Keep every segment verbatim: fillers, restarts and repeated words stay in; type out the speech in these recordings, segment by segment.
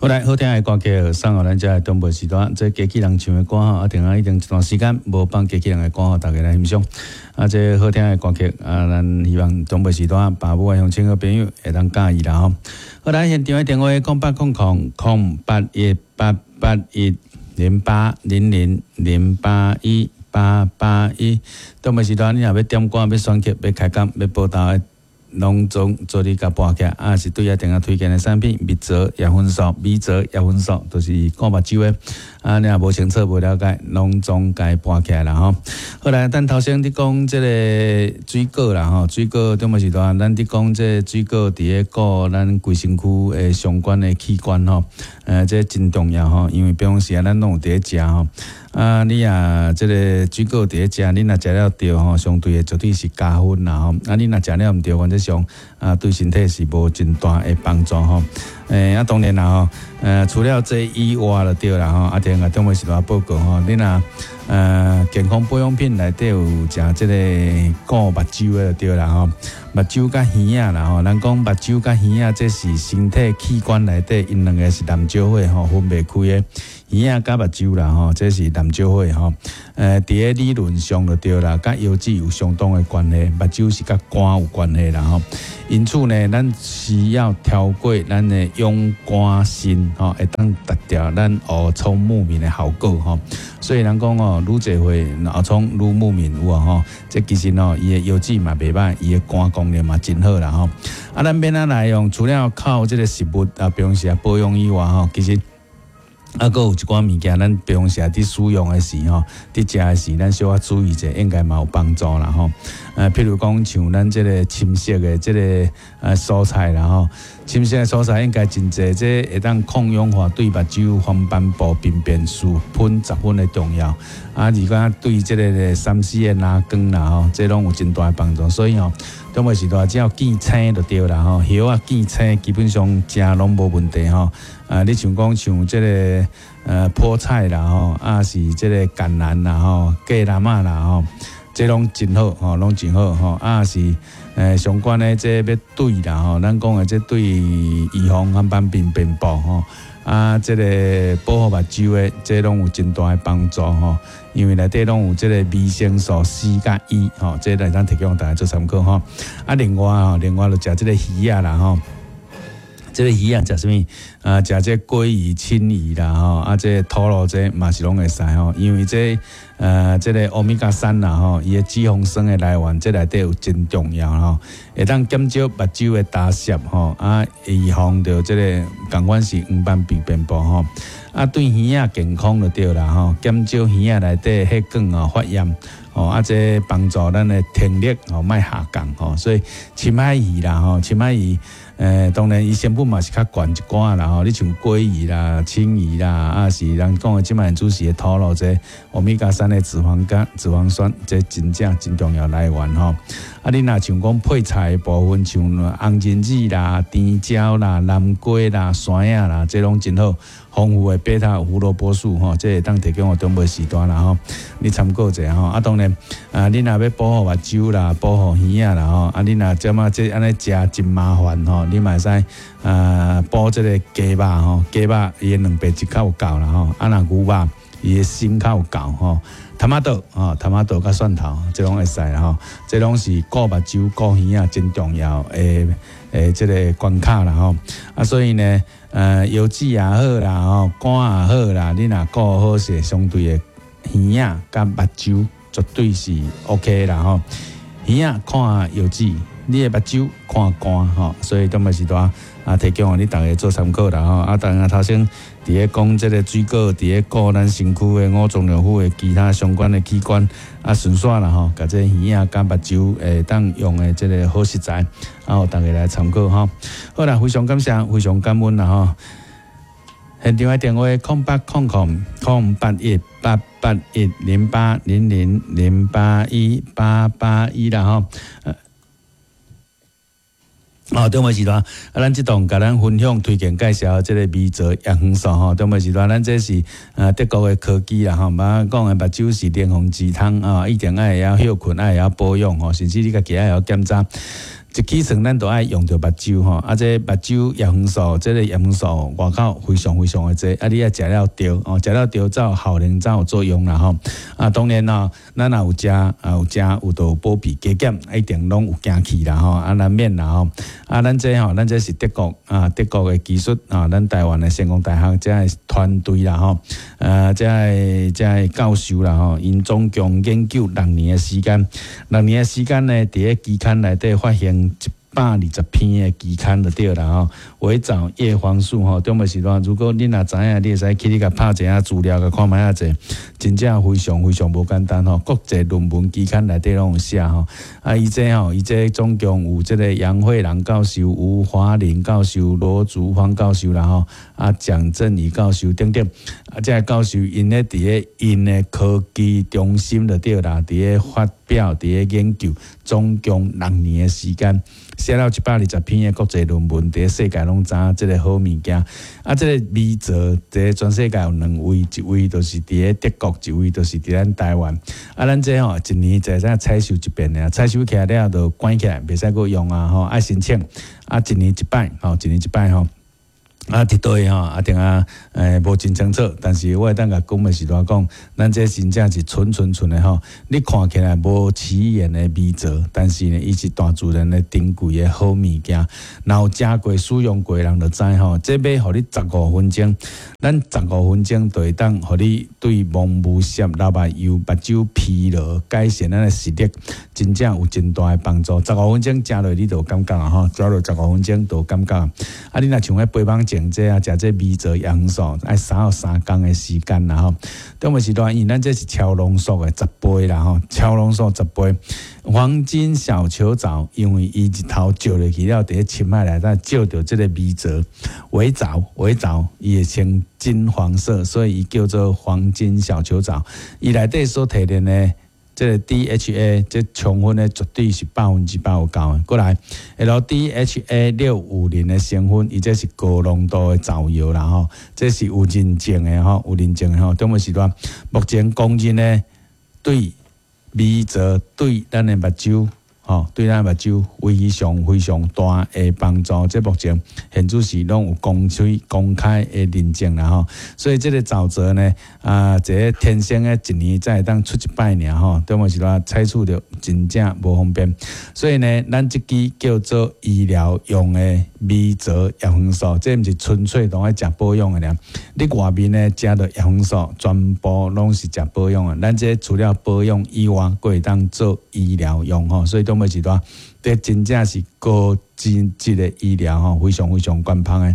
好來，好聽的歌曲送予咱遮的長輩時段，這機器人唱的歌吼，啊，定啊已經一段時間無放機器人的歌，予大家來欣賞。啊，這好聽的歌曲，啊，咱希望長輩時段爸母的鄉親好朋友會當佮意啦吼。好來，現場的電話空八空空空八一八八一零八零零零八一八八一。長輩時段，你若欲點歌、欲選曲、欲開講、欲報道的，攏總做你共撥起來，啊是對阿定啊推薦的產品，蜜棗葉粉素、米棗葉粉素，都是顧目睭的。啊，你若無清楚、無了解，攏總共撥起來啦吼。好來，咱頭先佇講這个水果啦吼，水果中午時段，咱佇講這个水果佇咧顧咱規身軀的相關的器官吼，呃，這真重要吼，因為平常時啊，咱攏有佇咧食吼。啊，你若這个水果佇咧食，你若食了著吼，相對的絕對是加分啦吼。啊，你若食了毋著，原則上啊，對身體是無真大的幫助吼。欸，啊，當然啦吼，呃，除了這以外就對啦吼，啊，聽下中午時段報告吼，你若呃健康保養品內底有食這个顧目睭的就對啦吼，目睭佮耳仔啦吼，人講目睭佮耳仔，這是身體器官內底𪜶兩个是難招伙吼，分袂開的。耳仔佮目睭啦吼，這是難招伙吼。呃，佇咧理論上就對啦，佮腰子有相當的關係，目睭是佮肝有關係啦吼。因此呢，咱需要調過咱的養肝腎吼，會當達到咱烏聰目明的效果吼。所以人講哦，愈濟歲老聰愈目明有無吼？這其實哦，伊的腰子嘛袂䆀，伊的肝功能嘛真好啦吼。啊，咱欲按怎來用？除了靠這个食物啊，平時啊保養以外吼，其實啊，閣有一寡物件，咱平常時佇使用的時吼，佇食的時，咱小可注意者，應該嘛有幫助啦吼。呃，譬如講像咱這个深色的這个呃蔬菜啦吼，深色的蔬菜應該真濟，這會當抗氧化，對目睭黃斑部病變十分十分的重要。啊，而且對這个三 C 的藍光啦吼，這攏有真大的幫助。所以吼，中午時段只要見青就對啦吼，葉仔見青基本上食攏無問題吼。啊，你像講像這个呃菠菜啦吼，啊是這个橄欖啦吼，芥藍仔啦吼，這攏真好吼，攏真好吼。啊是呃相關的這欲對啦吼，咱講的這對預防黃斑病變部吼，啊這个保護目睭的，這攏有真大的幫助吼。因為內底攏有這个維生素 C 佮 E 吼，這來當提供大家做參考吼。啊，另外吼，另外就食這个魚仔啦吼。這个魚仔食啥物？啊，食這鮭魚、鰊魚啦吼，啊，這个土鱸這嘛是攏會使吼，因為這呃，這个歐米伽三啦吼，伊的脂肪酸的來源，這內底有真重要吼，會當減少目睭的打濕吼，啊，預防著這个仝款是黃斑病變部吼，啊，對耳仔健康就對啦吼，減少耳仔內底血管哦發炎。哦，啊，這幫助咱的聽力哦，莫下降吼，所以深海魚啦吼，深海魚，呃，當然伊成本嘛是較懸一寡啦吼。你像鮭魚啦、鰊魚啦，啊是人講的這擺主食的土鱸這歐米伽三的脂肪苷、脂肪酸，這真正真重要來源吼。啊，你若像講配菜的部分，像紅仁子啦、甜椒啦、南瓜啦、山仔啦，這攏真好。豐富的貝塔胡蘿蔔素吼，這會當提供予長輩時段啦吼，你參考一下吼。啊，當然啊，你若欲保護目睭啦，保護耳仔啦吼，啊，你若這麼這按呢食真麻煩吼，你嘛會使啊補這个雞肉吼，雞肉伊的蛋白質較有夠啦吼，啊，若牛肉伊的鋅較有夠吼。tomato 吼，tomato佮蒜頭，這攏會使啦吼，這攏是顧目睭、顧耳仔真重要的的這个關卡啦吼。啊，所以呢，呃，腰子也好啦吼，肝也好啦，你若顧好勢，相對的耳仔佮目睭絕對是 OK 啦吼。耳仔看腰子，你的目睭看肝吼，所以當擺時段啊，提供予你逐家做參考啦吼。啊，當然頭先佇咧講這个水果，佇咧顧咱身軀的五臟六腑的其他相關的器官，啊，順紲啦吼，共這耳仔佮目睭會當用的這个好食材，啊，予逐家來參考吼。好啦，非常感謝，非常感恩啦吼。現場的電話空八空空空八一八八一零八零零零八一八八一啦吼。哦，中午時段，啊，咱這檔共咱分享、推薦、介紹這个米澤葉黃素吼。中午時段，咱這是呃德國的科技啦吼。嘛講的目睭是靈魂之窗啊，一定愛會曉歇睏，愛會曉保養吼，甚至你家己愛會曉檢查。一起床咱就愛用著目睭吼，啊，這目睭葉黃素，這个葉黃素外口非常非常的濟，啊，你愛食了著哦，食了著才有效能，才有作用啦吼。啊，當然咯，咱若有食啊，有食有就保庇加減，一定攏有行去啦吼，啊，難免啦吼。啊，咱這吼，咱這是德國啊，德國的技術啊，咱台灣的成功大學這个團隊啦吼，啊，這个這个教授啦吼，𪜶總共研究六年的時間，六年的時間呢，佇咧期刊內底發現一百二十篇的期刊就對啦吼。微藻葉黃素吼，中尾時段，如果你若知影，你會使去你共拍一下資料，共看覓仔濟，真正非常非常無簡單吼。國際論文期刊內底攏有寫吼。啊，伊這吼，伊這總共有這个楊惠蘭教授、吳華林教授、羅竹芳教授啦吼，啊，蔣振宇教授等等，啊，這个教授𪜶咧佇咧𪜶的科技中心就對啦，佇咧發表、佇咧研究，總共六年的時間，寫了一百二十篇的國際論文，佇咧世界攏知影這个好物件。啊，這个微藻佇咧全世界有兩位，一位就是佇咧德國，一位就是佇咱台灣。啊，咱這吼一年就會使採收一遍爾，採收起來了就關起來，袂使閣用啊吼，愛申請。啊，一年一擺，吼，一年一擺吼。啊，佇佗位吼，啊，定啊，欸，無真清楚，但是我會當共講的時陣講，咱這真正是純純純的吼。你看起來無起眼的微藻，但是呢，伊是大自然的珍貴的好物件。若有食過、使用過的人就知吼，這欲予你十五分鐘，咱十五分鐘就會當予你對蒙霧澀、流目油、目睭疲勞、改善咱的視力，真正有真大的幫助。十五分鐘食落你就有感覺啊吼，食落十五分鐘就有感覺。啊，你若像彼飛蠓症這啊，食這微藻葉黃素，愛三到三工的時間啦吼。中尾時段，因為咱這是超濃縮的十倍啦吼，超濃縮十倍。黃金小球藻，因為伊日頭照落去了，佇咧深海內底照著這个微藻、微藻、微藻，伊會呈金黃色，所以伊叫做黃金小球藻。伊內底所提煉的這个 D H A，這充分的絕對是百分之百有夠的。過來，L D H A 六五零的成分，伊這是高濃度的藻油啦吼，這是有認證的吼，有認證的吼。中尾時段，目前公認的對微藻對咱的目睭，吼，對咱目睭非常非常大的幫助。這目前現主時攏有公開公開的認證啦吼。所以這个藻澤呢，啊，這个天生的一年才會當出一擺爾吼，中尾時段採取著真正無方便。所以呢，咱這支叫做醫療用的微藻葉黃素，這毋是純粹當愛食保養的爾。你外面呢食著葉黃素，全部攏是食保養的。咱這除了保養以外，閣會當做醫療用吼。所以中尾時段，這真正是高品質的醫療吼，非常非常官方的。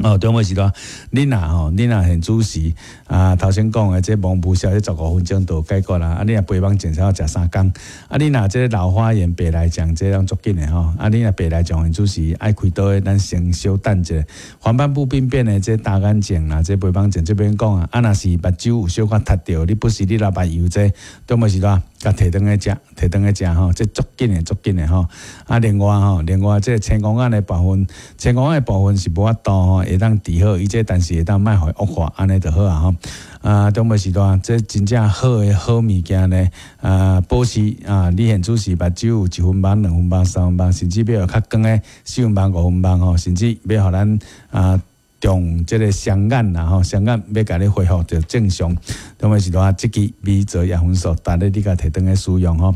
哦，中尾時段，你若吼，你若現主時啊，頭先講的這蒙霧消，這十五分鐘就解決啦。啊，你若飛蠓症要食三工。啊，你若這老花眼白內障，這攏足緊的吼。啊，你若白內障現主時愛開刀的，咱先小等一下。黃斑部病變的這大眼症啦，這飛蠓症這邊講啊，啊，若是目睭有小可凸著，你不時你流目油這，中尾時段，共提轉去食，提轉去食吼，這足緊的，足緊的吼。啊，另外吼，另外這青光眼的部分，青光眼的部分是無法度吼，會當治好，伊這但是會當莫予伊惡化，按呢就好啊吼。啊，中尾時段，這真正好的好物件呢，啊，保持啊，你現主時目睭有一分網、兩分網、三分網，甚至欲予較光的四分網、五分網吼，甚至欲予咱啊。用這个雙眼啦吼，雙眼欲共你恢復著正常，中尾時段，這支微藻葉黃素，逐日你共提轉去使用吼。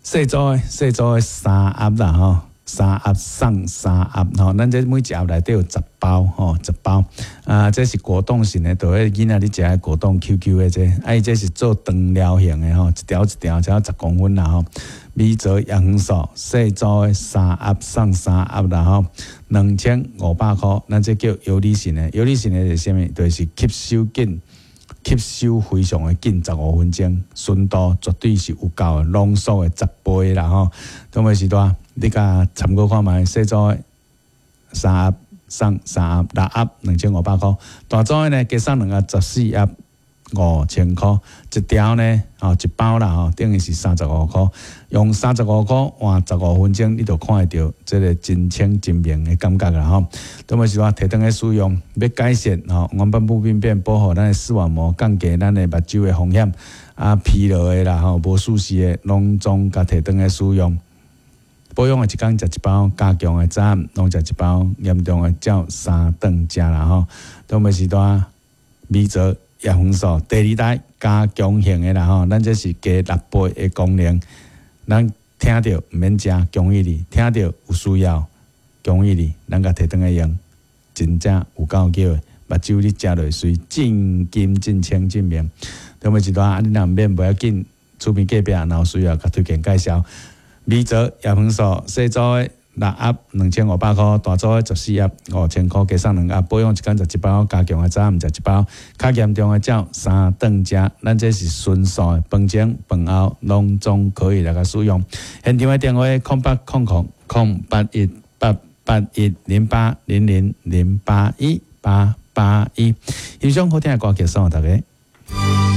細組的細組的三盒啦吼，三盒送三盒吼，咱這每一盒內底有十包吼，十包啊，這是果凍型的，就彼囡仔咧食的果凍 Q Q 的這，啊，伊這是做長療型的吼，一條一條才十公分啦吼。微藻葉黃素細組的三盒送三盒啦吼，兩千五百箍，咱這叫游離型的，游離型的是啥物？就是吸收緊，吸收非常的緊，十五分鐘，純度絕對是有夠的，濃縮的十倍啦吼。中尾時段，你共參考看覓，細組的三盒送三盒，六盒兩千五百箍，大組的呢加送兩盒十四盒。五千箍一條呢，吼一包啦吼，等於是三十五箍。用三十五箍換十五分鐘，你就看會著這个真清真明的感覺啦吼。中尾時段提轉去使用，欲改善吼，黃斑部病變，保護咱的視網膜，降低咱的目睭的風險。啊，疲勞的啦吼，無舒適的，攏總共提轉去使用。保養的一工食一包，加強的早暗攏食一包，嚴重的照三頓食啦吼。長輩時段米澤葉黃素第二代加強型的啦吼，咱這是加六倍的功能，咱疼著毋免食，恭喜你；疼著有需要，恭喜你，咱共提轉來用，真正有夠叫的，目睭你食落水真金真清真明。長輩時段，啊，你若毋免無要緊，厝邊隔壁若有需要，共推薦介紹。米澤葉黃素細組的六盒兩千五百箍，大組的十四盒五千箍，加送兩盒。保養一工食一包，加強的早暗食一包，較嚴重的照三頓食。咱這是純素的，飯前飯後攏總可以來共使用。現場的電話：空八空空空八一八八一零八零零零八一八八一。欣賞好聽的歌曲送予大家。